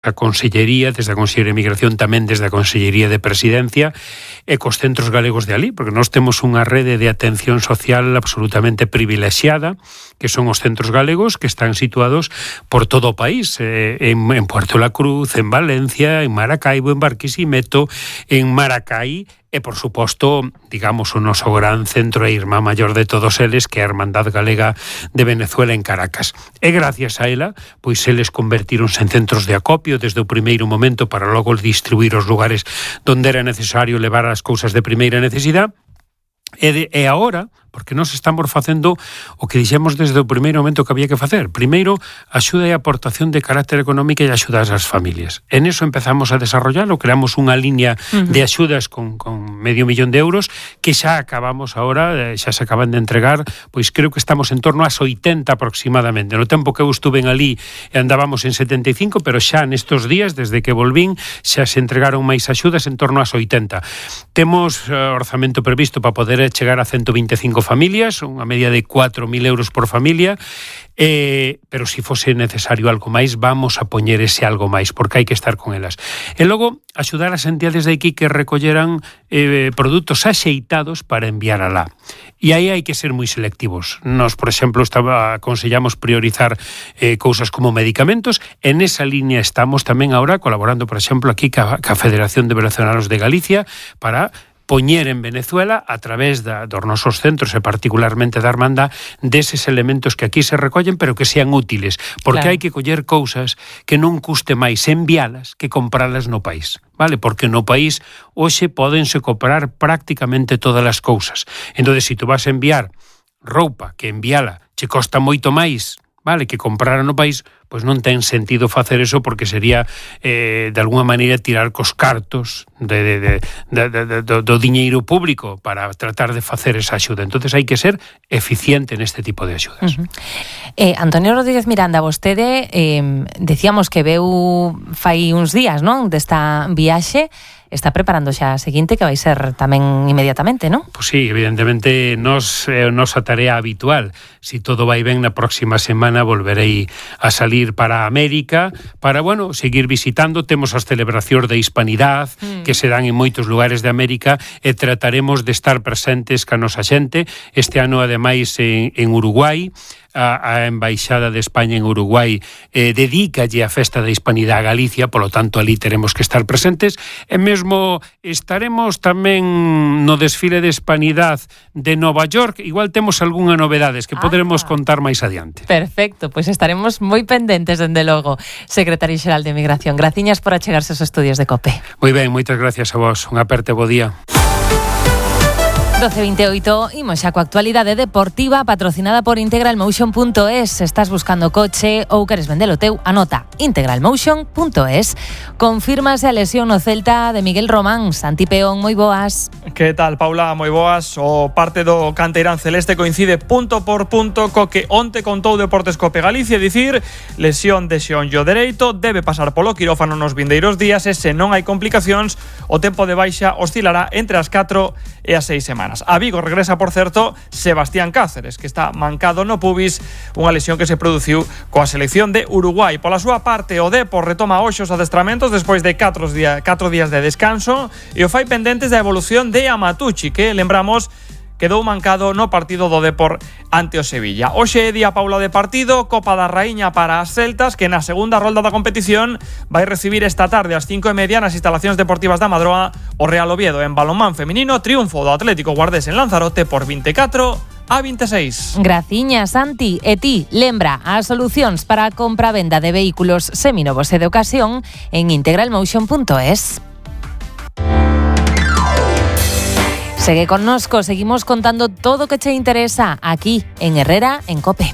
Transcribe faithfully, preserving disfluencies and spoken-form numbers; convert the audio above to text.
a Consellería, desde a Consellería de Migración, tamén desde a Consellería de Presidencia e cos centros galegos de alí, porque nós temos unha rede de atención social absolutamente privilexiada, que son os centros galegos que están situados por todo o país, eh, en, en Puerto la Cruz, en Valencia, en Maracaibo, en Barquisimeto, en Maracai, e, por suposto, digamos, o noso gran centro e irmá maior de todos eles, que é a Hermandad Galega de Venezuela en Caracas. E gracias a ela, pois eles convertíronse en centros de acopio desde o primeiro momento para logo distribuir os lugares donde era necesario levar as cousas de primeira necesidade. E, de, e agora, porque nós estamos facendo o que dixemos desde o primeiro momento que había que facer. Primeiro, axuda e aportación de carácter económica e axuda ás familias. En eso empezamos a desarrollarlo, creamos unha línea uh-huh. de axudas con, con medio millón de euros que xa acabamos ahora, xa se acaban de entregar, pois creo que estamos en torno ás oitenta aproximadamente. No tempo que eu estuve en alí andábamos en setenta e cinco, pero xa nestos días, desde que volvín, xa se entregaron máis axudas en torno ás oitenta. Temos uh, orzamento previsto para poder chegar a ciento vinte e cinco familias, unha media de cuatro mil euros por familia, eh, pero se si fose necesario algo máis, vamos a poñer ese algo máis, porque hai que estar con elas. E logo, axudar as entidades de aquí que recolleran eh, produtos axeitados para enviar alá. E aí hai que ser moi selectivos. Nos, por exemplo, estaba, aconsellamos priorizar eh, cousas como medicamentos. En esa línea estamos tamén ahora colaborando, por exemplo, aquí ca, ca Federación de Venezolanos de Galicia para poñer en Venezuela, a través da, dos nosos centros e particularmente da Hermandad, deses elementos que aquí se recollen, pero que sean útiles, porque claro. hai que coller cousas que non custe máis envialas que compralas no país, vale? Porque no país hoxe pódense comprar prácticamente todas as cousas. Entón, se tu vas a enviar roupa que enviala che costa moito máis, vale, que comprara no país, pois non ten sentido facer eso, porque sería eh, de alguna maneira tirar cos cartos de, de, de, de, de, do, do diñeiro público para tratar de facer esa axuda. Entonces hai que ser eficiente neste tipo de axudas. Uh-huh. eh, Antonio Rodríguez Miranda, vostede eh, decíamos que veu fai uns días, non, desta viaxe. Está preparando xa a seguinte, que vai ser tamén inmediatamente, non? Pois sí, evidentemente nos, eh, nosa tarea habitual. Si todo vai ben, na próxima semana volverei a salir para América, para, bueno, seguir visitando. Temos as celebracións de Hispanidade, mm. que se dan en moitos lugares de América, e trataremos de estar presentes ca nosa xente. Este ano, ademais, en, en Uruguai, a, a Embaixada de España en Uruguai eh, dedícalle a festa da Hispanidade a Galicia, polo tanto, ali teremos que estar presentes, e mesmo estaremos tamén no desfile de Hispanidade de Nova York. Igual temos algunha novedades que ah. poderemos contar máis adiante. Perfecto, pois pues estaremos moi pendentes, dende logo. Secretario Xeral de Migración, graciñas por achegarse aos estudios de COPE. Moi ben, moitas gracias a vos. Un aperte, bo día. doce vinte e oito, imos xa coa actualidade deportiva patrocinada por integral motion punto es. Estás buscando coche ou queres vendelo teu, anota integral motion punto es. Confírmase a lesión no Celta de Miguel Román. Santi Peón, moi boas. Que tal, Paula? Moi boas. O parte do canteirán celeste coincide punto por punto co que onte contou Deportes Cope Galicia, dicir, lesión de xeonllo dereito, debe pasar polo quirófano nos vindeiros días e se non hai complicacións, o tempo de baixa oscilará entre as catro e as seis semanas. A Vigo regresa, por certo, Sebastián Cáceres, que está mancado no pubis, unha lesión que se produciu coa selección de Uruguai. Pola súa parte, o Depor retoma hoxe os adestramentos despois de catro días de descanso e o fai pendentes da evolución de Amatucci, que, lembramos, quedou mancado no partido do Depor ante o Sevilla. Hoxe é día, Paula, de partido, Copa da Raíña para as celtas, que na segunda rolda da competición vai recibir esta tarde ás cinco e media nas instalacións deportivas da Madroa o Real Oviedo. En balonmán feminino, triunfo do Atlético Guardés en Lanzarote por vinte e catro a vinte e seis. Graciñas, Santi. E ti, lembra as solucións para a compra-venda de vehículos seminovos e de ocasión en integral motion punto es. Segue connosco, seguimos contando todo o que che interesa aquí en Herrera en COPE.